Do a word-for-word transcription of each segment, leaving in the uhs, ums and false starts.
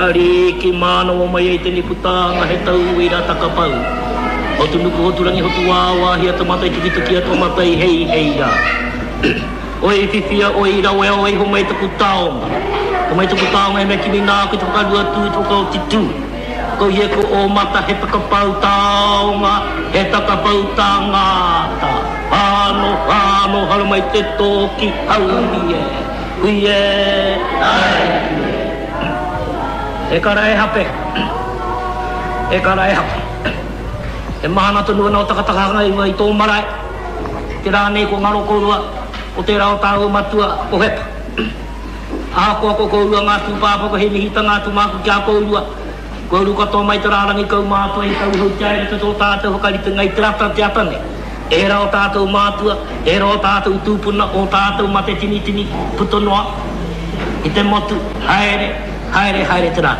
Ariki mānawa mai ai tēnei putanga he tauira takapau. Hotu nuku, hotu rangi, hotu wāwāhi a te matai tukituki a tō matai hei hei rā. Oi whiwhia, oi rawea, oi homai taku taonga. Homai taku taonga e mea kimi nāku i te whakarua tū, i te whakaoti tū. Ko ia ko ō mata he takapau taonga, he takapau tangata. Whāno, whāno, haramai te tōki, haumi e, hui e, ai e. E kara e hape, e kara e hape. E mahana tonu ana o takatakahanga i runga i tō marae. Te rā nei ko ngaro kōrua, ko tērā o tāua matua, ko Hepa. Ahakoa ko kōrua ngā tūpāpaku hei mihitanga atu māku ki a kōrua, kua uru katoa mai te rārangi kaumātua i tauhoutia ai roto i tō tātou whakaritenga i te rata te ata nei. Ērā o tātou mātua, ērā o tātou tūpuna, o tātou mate tinitini, puta noa i te motu, haere, haere, haere te rā.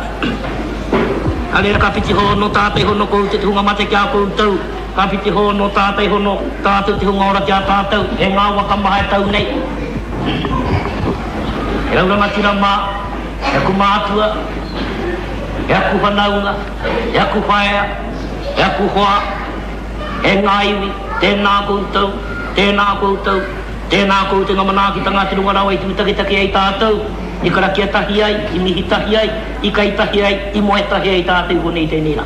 Ka reira ka whiti hono tātai hono koutou te hunga mate ki a koutou, ka whiti hono tātai hono tātou te hunga ora ki a tātou, e ngā waka maha e tau nei. E au rangatira mā, e aku mātua, e aku whanaunga, e aku whaea, e aku hoa, e ngā iwi, tēnā koutou, tēnā koutou, tēnā koutou ngā manaakitanga a te runga rawa i tūtaketake ai tātou, i karakia tahi ai, i mihi tahi ai, i kai tahi ai, i moe tahi ai tātou i konei i tēnei rā.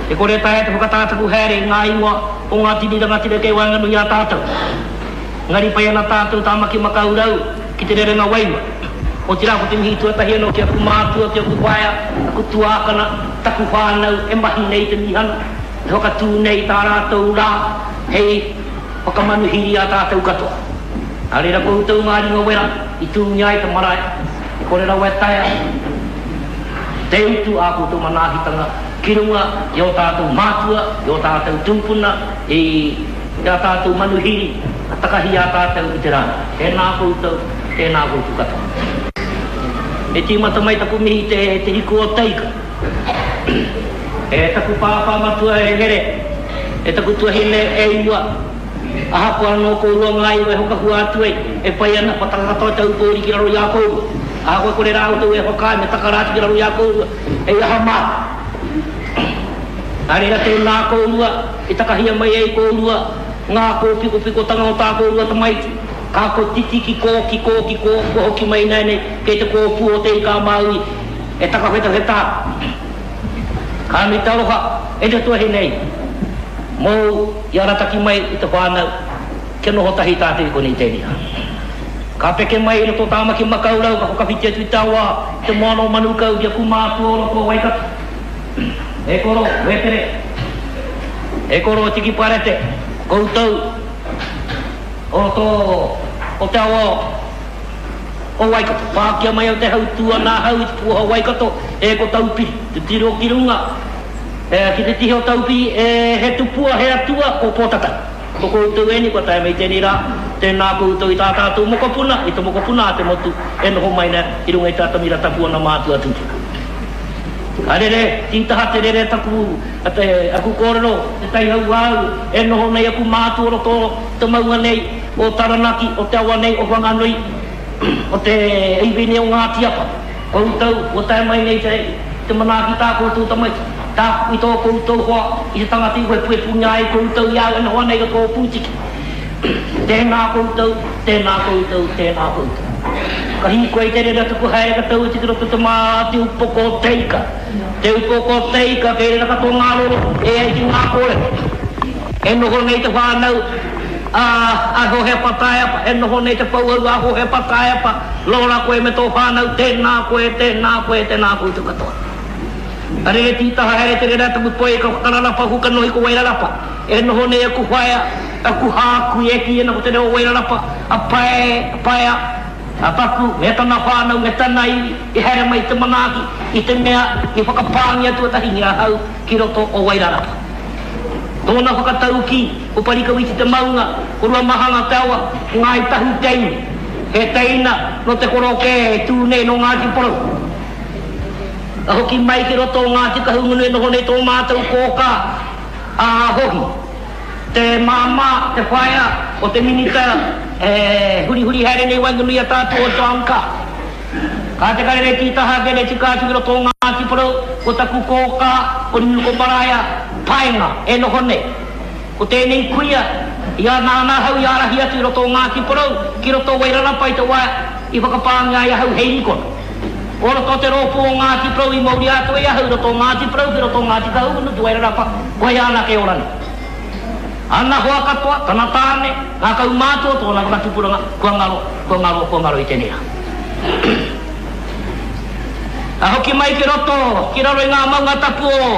E kore taea te whakatātaku haere i ngā ingoa o ngā tini rangatira kei waenganui i a tātou. Engari pai ana tātou Tāmaki Makaurau ki te rerenga wairua. Otirā ko te mihi tuatahi anō ki aku mātua, ki aku whaea, aku tuākana, taku whānau e mahi nei te mīhana, e whakatū nei i tā rātou rā hei whakamanuhiri i a tātou katoa. Nā reira koutou ngā ringa wera i tūngia ai te marae, e kore rawa e taea te utu ā koutou manaakitanga ki runga i ō tātou mātua, i ō tātou tūpuna, i ā tātou manuhiri ka takahi i a tātou i te rā. Tēnā koutou, tēnā koutou katoa. E tīmata mai taku mihi te, te hiku o Teika. E taku pāpā matua e Here, e taku tuahine e Iwa, ahakoa anō kōrua ngā iwi e whakahua atu ai, e whai ana, kua taka katoa te aupōuri ki raro i a kōrua. Ahakoa e kore rā koutou e whakaae, me taka rā atu ki raro i a kōrua, hei aha māku. Nā reira tēnā kōrua, i takahia mai ai kōrua ngā kōpikopikotanga o tā kōrua tamaiti, ka kotiti ki kō, ki kō, ki kō, kua hoki mai ināianei kei te kōpū o Te Ika-a-Māui e takawhetawheta ana. Ka nui te aroha e te tuahine nei mōu i arataki mai i te whānau kia noho tahi tātou i konei tēnei rā. Ka peke mai i roto o Tāmaki Makaurau ka whakawhiti atu i te awa, i te moana o Manukau ki aku mātua o roto o Waikato. E koro, Wētere, e koro Tiki Parete, koutou o roto o te awa o Waikato. Pākia mai au te hautū ana ahau i te pūaha o Waikato, e ko Taupiri, te tiro ki runga, e, ki te tihi o Taupiri, e, he tupua, he atua, ko Pōtatau. Ko koutou ēnei kua tae mai tēnei rā, tēnā koutou i tā tātou mokopuna, i te mokopuna a te motu e noho mai nei i runga i te atamira tapu ana mātua tūpuna. Ka rere, tītaha te rere taku, te, aku kōrero, te tai hauāuru, e noho nei aku mātua o roto o te maunga nei, o Taranaki, o te awa nei o Whanganui, o te iwi nei o Ngāti Apa. Koutou, kua tae mai nei te, te manaaki tā koutou tamaiti, tā, i tō koutou hoa, i te tangata i wepuwepungia ai koutou i a au e noho ana i roto o Pūtiki. Tēnā koutou, tēnā koutou, tēnā koutou. Ka hīkoi te rere tuku haere ka tau atu ki roto te mā te upoko o te ika. Te upoko o te ika kei reira katoa ngā roro e ai ki ngā kōrero. E noho nei te whānau a a Hohepa Taeapa, e noho nei te pouaru a Hohepa Taeapa, Laura koe me tō whānau, tēnā koe, tēnā koe, tēnā koutou katoa. Ka rere tītaha haere te rere a taku toi ka whakararapa aku kanohi ko Wairarapa. E noho nei aku whaea, aku hākui e kī ana ko te reo o Wairarapa, a Pae, a Paea, a Paku me tana whānau me tana iwi i haere mai te manaaki i te mea i whakapāngia tuatahingia ahau ki roto o Wairarapa. Tōna whakataukī, ko Parikawiti te maunga, ko Ruamahanga te awa, ko Ngāi Tahu te iwi. He teina nō te korokē e tū nei nō Ngāti Porou. Ka hoki mai ki roto o Ngāti Kahungunu e noho nei tō mātou kōkā, a Hohi, te māmā, te whaea o te minita e hurihuri haere nei waenganui i a tātou o John Carr. Ka te karere tītaha ake nei tika atu ki roto o Ngāti Porou, ko taku kōkā, ko Nunuko Maraea Paenga e noho nei. Ko tēnei kuia, i a nāna ahau i ārahi atu i roto o Ngāti Porou, ki roto o Wairarapa i te wā i whakapāngia ai ahau hei rikona. O roto o te rōpū o Ngāti Porou i mauria atu ai ahau i roto o Ngāti Porou ki roto o Ngāti Kahungunu ki Wairarapa, koia anake ora nei. Ana hoa katoa, tana tāne, ngā kaumātua, tōna whakatupuranga, kua ngaro, kua ngaro, kua ngaro i tēnei rā. Ka hoki mai ki roto, ki raro i ngā maunga tapu o,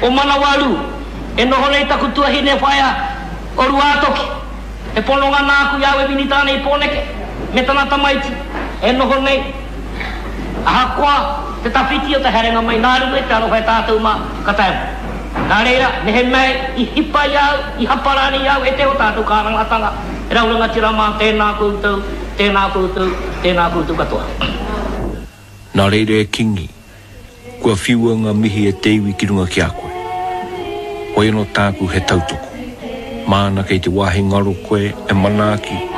o Manawaru, e noho nei taku tuahine whaea o Ruātoki, he pononga nāku i a au e minita ana i Pōneke, me tana tamaiti, e noho nei. Ahakoa te tawhiti o te haerenga mai nā runga i te aroha e tātou mā, ka taea mai. Nā reira, mehemea i hipa i a au, i hapa rānei i a au e te o tātou kārangatanga, e rau rangatira mā, tēnā koutou, tēnā koutou, tēnā koutou katoa. Nā reira e Kingi, kua whiua ngā mihi e te iwi ki runga ki a koe. Hoi anō tāku he tautoko. Māna kei te wāhi ngaro koe e manaaki,